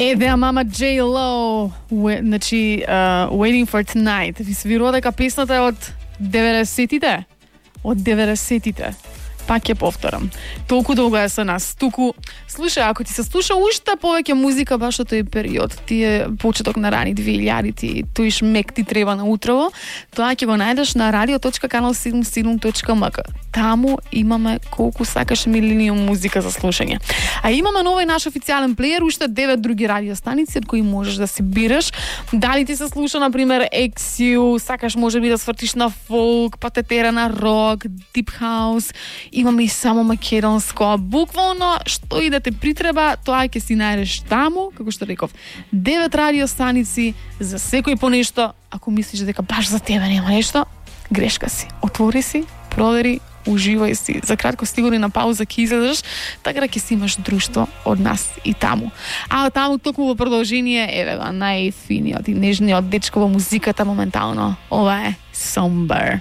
Еве мама J Lo, значи Waiting for Tonight. Ви свирува дека песната е од 90-тите. Од 90-тите. Пак ја повторам. Толку долго е со нас. Туку, слушај, ако ти се слуша уште повеќе музика баш од тој период, тие почеток на рани 2000-ти, тој шмек ти треба на утрово, тоа ќе го најдеш на radio.canal77.mk. Таму имаме колку сакаш милениум музика за слушање. А имаме новој наш официјален плеер, уште 9 други радиостаници од кои можеш да си бираш. Дали ти се слуша, например, XU, сакаш можеби да свртиш на фолк, па те тера на рок, дип хаус. Имаме и само македонско. Буквално, што и да те притреба, тоа ќе си најдеш таму, како што реков. 9 радиостаници за секој по нешто. Ако мислиш дека баш за тебе нема нешто, грешка си. Отвори си, провери, уживај си. За кратко стигури на пауза ќе излезеш, така да ќе си имаш друштво од нас и таму. А таму токму во продолжение, еве го, најфиниот и нежниот дечко во музиката моментално. Ова е Somber.